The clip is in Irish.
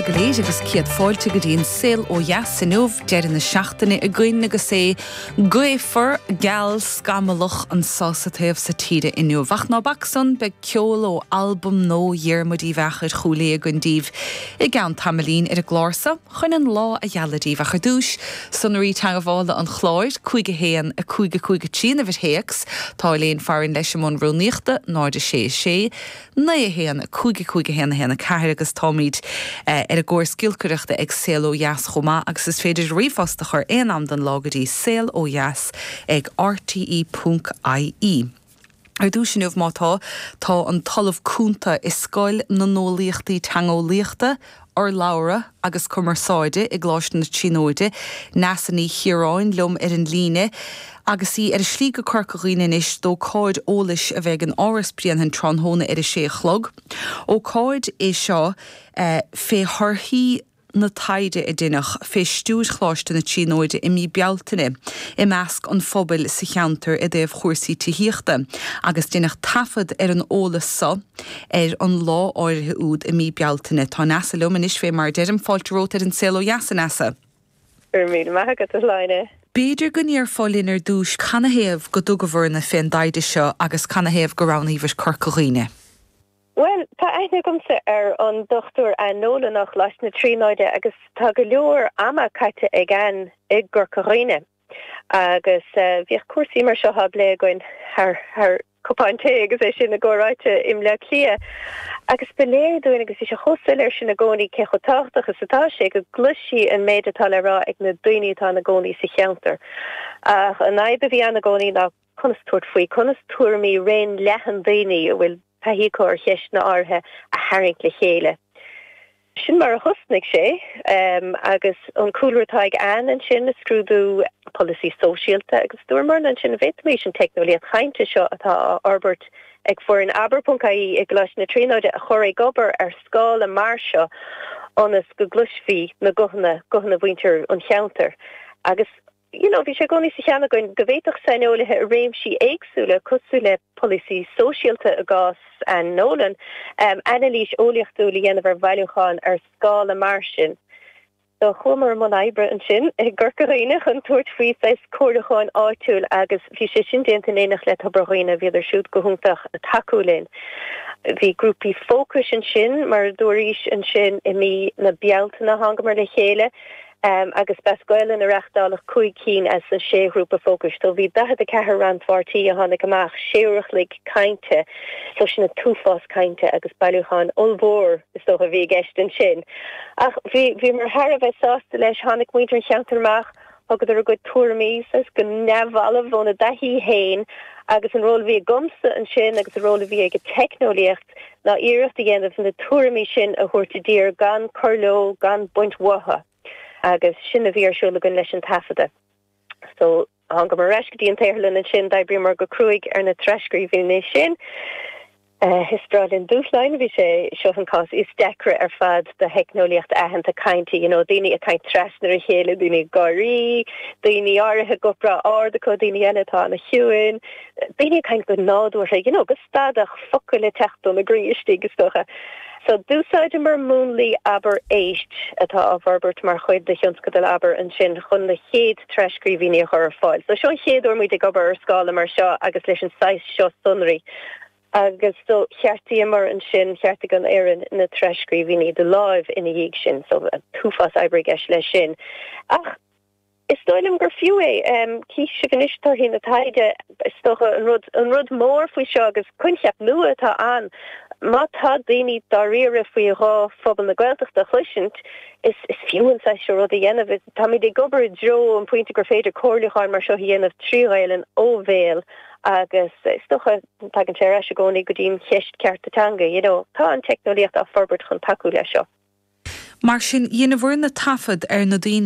go léir agus céad fáilte go dtí an Saol Ó Dheas inniu, deireadh na seachtaine againn agus é gaofar, geal, scamallach anso sa taobh so tíre inniu. Ach ná bac san, beidh ceol ó albam nua Dhiarmuid Uí Mheachair Chúil Aodha againn daoibh i gceann tamaillín ar an gclár so chun an lá a ghealadh daoibh. Ach ar dtúis, sonraí teagmhála an chláir, 5 1 5 5 3 an uimhir théacs, tá Elaine Farren leis i mbun rúnaíochta, 0 6 6 9 1 5 5 1 1 4 agus táimid ar an gcóras giolcaireachta ag Saol Ó Dheas chomh maith agus is féidir ríomhphost a chur aon am den lá go dtí saolodheas ag rte ponc ie. Ar dtús inniu, má tá, tá an tOllamh Cúnta i Scoil na nEolaíochtaí Teangeolaíochta, Urlabhra agus Cumarsáide i gColáiste na Tríonóide, Neasa Ní Chiaráin, liom ar an líne agus í ar a slí go Corca Dhuibhne anois d'ócáid eolais a bheidh in Áras Bhréanainn tráthnóna ar a sé a chlog. Ócáid é seo fé thorthaí na taighde a deineadh fé stiúir Choláiste na Tríonóide i mí Bealtaine i measc an phobail sa cheantar i dtaobh chúrsaí tithíochta agus deineadh taifead ar an eolas so ar an lá áirithe úd i mí Bealtaine. Tá Neasa liom anois fé mar a deirim. Fáilte romhat ar an Saol Ó Dheas, a Neasa. Go raibh míle maith agat, a Shláine. B'fhéidir go ndéarfá linn ar dtúis canathaobh go dtugabhair-ne fén dtaighde seo agus canathaobh go roghnaíobhair Corca Dhuibhne? Bhuel, tá aithne agamsa ar an Dr Anne Nolan ó Choláiste na Tríonóide agus tá go leor ama caite ag Anne i gCorca Dhuibhne agus bhíodh cúrsaí mar seo á bplé againn thar thar cupán tae agus é sin i gcomhráite i mBleá Cliath agus ba léir dúinn agus bhí sé chomh soiléir sin i gcónaí cé chomh tábhachtach is atá sé go gcloisfí an méid atá le rá ag na daoine atá ina gcónaí sa cheantar. Ach an fhadhb a bhí ann i gcónaí ná conas tabhairt faoi, conas tuairimí raon leathan daoine a bhfuil taithí acu ar cheisteanna áirithe a tharraingt le chéile. Sin mar a thosnaigh sé agus an cúlra atá ag Anne ansin, ag scrúdú polasaí sóisialta agus dúramarna ansin an bhféadfaimis an teicneolaíocht chainte seo atá á fhorbairt ag foireann Abair.ie i gColáiste na Tríonóide a chur ag obair ar scála mar seo ionas go gcloisfí na guthanna, guthanna mhuintir an cheantair agus You know, bhí sé i gcónaí sa cheann againn go bhféadfadh saineolaithe i réimsí éagsúla, cosúil le polasaí sóisialta i gcás Anne Nolan, anailís eolaíochtúil a dhéanamh ar bhailiúchán ar scála mar sin. So chuamar i mbun oibre ansin i gCorca Dhuibhne chun tabhairt faoi saghas comhairliúcháin áitiúil agus bhí sé sin déanta in éineacht le Tobar Dhuibhne, bhíodar siúd go hiontach ag tacú linn. Bhí grúpaí fócais ansin, mar a dúraís ansin i mí na Bealtaine thángamar le chéile agus b'as Gaolainn a reachtáladh 5 cinn as an sé ghrúpa fócais. So bhí 44 rannpháirtí a tháinig amach, sé uair a chloig cainte, so sin an t-uafás cainte agus bailiúchán ollmhór is dócha a bhí i gceist ansin. Ach bhí, bhíomar thar a bheith sásta leis, tháinig muintir an cheantair amach, thugadar a gcuid tuairimí saghas go neamhbhalbh óna dtaithí féin agus an ról a bhí agamsa ansin agus an ról a bhí ag an teicneolaíocht ná iarracht a dhéanamh na tuairimí sin a thabhairt i dtír gan cur leo, gan baint uathu. Agus sin a bhí ar siúl againn leis an taifeadadh. So, thángamar ar ais go dtí an tsaotharlann ansin, d'oibríomar go cruaidh ar na tras-scríbhinní sin. Is breá linn dúshláin, bhí sé seo an cás is deacra ar fad do theicneolaíocht aitheanta cainte, you know, daoine ag caint trasna ar a chéile, daoine ag gáirí, daoine áirithe guth breá ard acu, daoine eile atá ana-chiúin, daoine ag caint go nádúrtha, you know, go stadach, focail ag teacht óna gcroí istigh, is dócha. So, d'úsáideamar múnlaí Abair Éist, atá á bhforbairt mar chuid de thionscadal Abair ansin, chun na chéad tras-scríbhinní a chur ar fáil. So, seo an chéad uair muid ag obair ar scála mar seo agus leis an saghas seo sonraí. Agus so, cheartaíomar ansin, cheartaigh an fhoireann na tras-scríbhinní de láimh ina dhiaidh sin. So, an t-uafás oibre i gceist leis sin. Ach. Is dóigh liom gur fiú é. Cífidh sibh anois torthaí na taighde. Is dócha an rud, an rud mór faoi seo agus coincheap nua atá ann, má tá daoine dáiríre faoi ghuth phobal na Gaeltachta a chloisint, is, is fiú an saghas seo rud a dhéanamh. Táimid ag obair i dtreo an pointe gur féidir comhairliúcháin mar seo a dhéanamh trí Ghaelainn ó bhéal agus is dócha tagann sé ar ais i gcónaí go dtí an cheist cearta teanga, you know. Tá an teicneolaíocht á forbairt chun tacú leis seo. Mar sin, dheineabhair-ne taifead ar na daoine.